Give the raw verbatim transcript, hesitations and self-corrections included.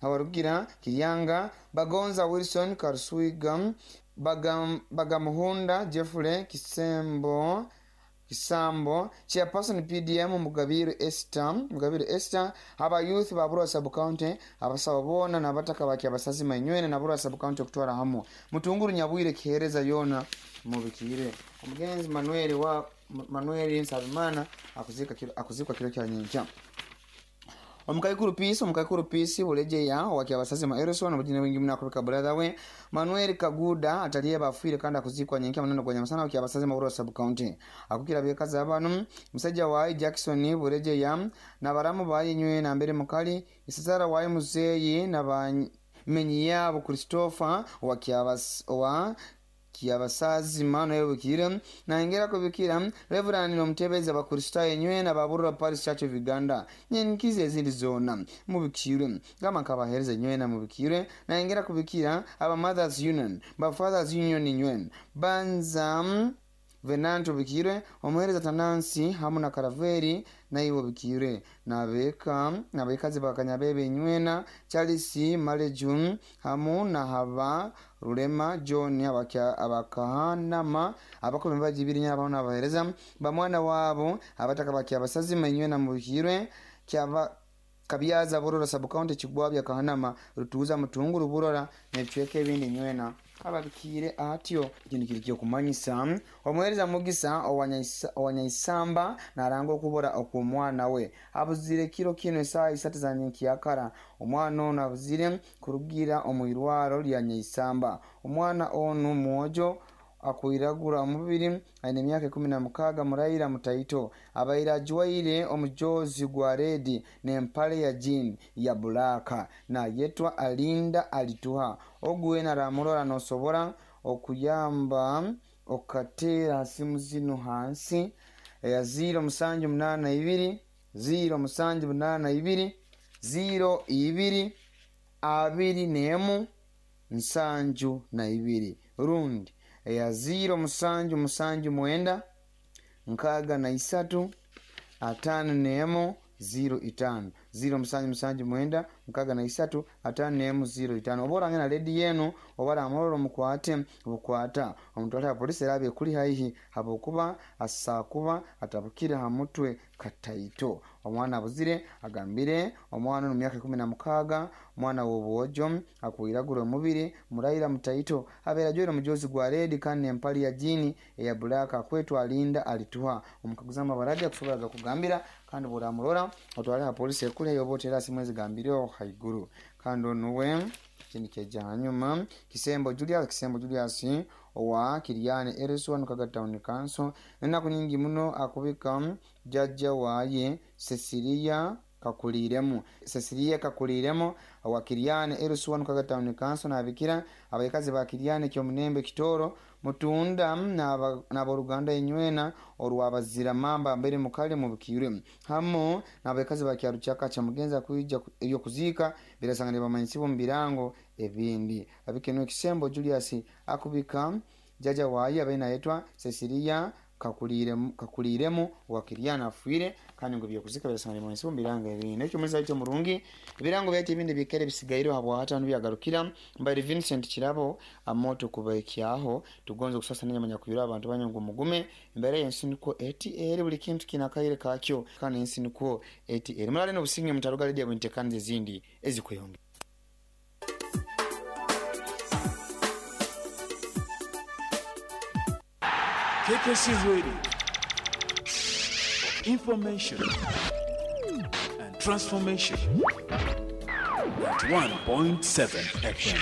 Habarugira Kiryanga, Bagonza Wilson Karuswiga, Bagam, Bagamuhunda Jeffrey Kisembo Kisambo, Chairperson P D M Mugabiru Esther, Mugabiru Esther, aba youth ba Burwa Sub County, abasaba bona nabataka baki abasazi manywene na Burwa Sub County okutwara hamu. Mutunguru Nyabwire kihereza yona mubikire. Omugenzi Manuel wa Manuel Nsabimana akuzika kiro, akuzikwa kiro kya nyencha. Omukaikuru Peace, Omukaikuru Peace bulejeya waki abasazi ma Erison obujine wingi muna kubika brother we Manuel Kaguda ataliye bafuire kandi akuzikwa nyenka maneno kwa nyamasana waki abasazi ma Burwa Sub County. Akukira byekaza abantu musajja wa Jackson bulejeya na baramu bayinywe na mbere mukali isazara wa muzeyi na bamenyi yabo Christopher waki abas wa kiabasazi mano yobukire na ngera kubikira Reverend nomutebeza bakristayo nywe na baburra Parish Church of Uganda nyenkize ezindi zona mubikire gama kabahereza nywe na mubikire na ngera kubikira aba Mothers Union ba Fathers Union nywe banza Venanto bikire omuhereza Tanansi hamu na Karaveri na iwo bikire na beka na bekazi bakanyabebe nywena Charles Malejun hamu na haba Rulema John abakya abakahanama abakombe bajibiri nyaba na bahereza bamwana wabo abataka bakya basazi manywena mubikire kyaba Kabyaza Burora Sub County Kigwabya Kahanama Rutuza Mutunguru Burora nebicweka ebindi nywena ababikire atyo kintu kiri kyo kumanyisa omuhereza Mugisa owanyaisamba naranga okubora okumwana we abuzire kiro kino esaa isatu za nyenkiyakara omwana ono abuzire kurugira omuirwaro lya Nyaisamba. Omwana ono mwojo akwiragura omubiri aine emyaka ikumi na mukaga muraira mutaito abaira ajwaire omujozi gwa redi n'empale ya jean ya bulaka na yetwa Alinda Alituha. Ogwe naramurora nosobora okuyamba okatera simu zino hansi ya ziro musanju munana ibiri ziro musanju munana ibiri ziro ibiri abiri nemu nsanju na ibiri rundi ya ziro musanju musanju mwenda nkaga na isatu atano nemo ziro itano ziro musanju musanju mwenda nkaga na isatu atano nemo ziro itano. Obora ngena ledi yenu obara amororo mukwate bukwata omutwale ya polisi erabe kuli haihi habokuba asakuba atabukira hamutwe kataito. Omwana abuzire agambire omwana no myaka ikumi na mukaga mwana w'obwojo akwiragura omubiri muraira mutaito abera jwero mujozi gwa redi kandi empali ya jini eya bulaka kwetwa Alinda Alituha. Omukaguzama baraja kusobola kugambira kandi buramurora otwale ha polisi ekule yobotera simwezi gambire haiguru kandi onuwe kindi keja hanyuma Kisembo Julius Kisembo Julius owa Kiriane Erison Kaga Town Council enaku nyingi muno akubika jajja waye Cecilia Kakuliremu Cecilia Kakuliremu owa Kiriane Erison Kaga Town Council nabikira abayikazi ba Kiriane kyo munembe kitoro mutunda na boruganda inywena orwabazira mamba mbere mukali mu bikire hamo nabekazi bakyaruchaka cha mugenza kuija ebyo kuzika birasangane bamanyisibo mu birango ebindi abikeno Kisembo Julius akubika jaja waye abena yetwa Cecilia kakuliremu kakuliremu wakiriana afuire kandi ngo byokuzika birasangane bamanyisibo mu birango ebindi ekyo muliza cyo murungi ebirango byati ebindi bikere bisigairo habwa hatano byagarukira mbali Vincent Kirabo amoto kubaikyaho tugonze kusasa nanya kuyira abantu banyongo mugume imbere yensi niko eti eri buli kintu kinakaire kakyo kandi ensi niko eti eri mulale no businge mutaruga radio buntekanze zindi ezikuyonge. K K C Radio. Information and transformation. ninety-one point seven F M.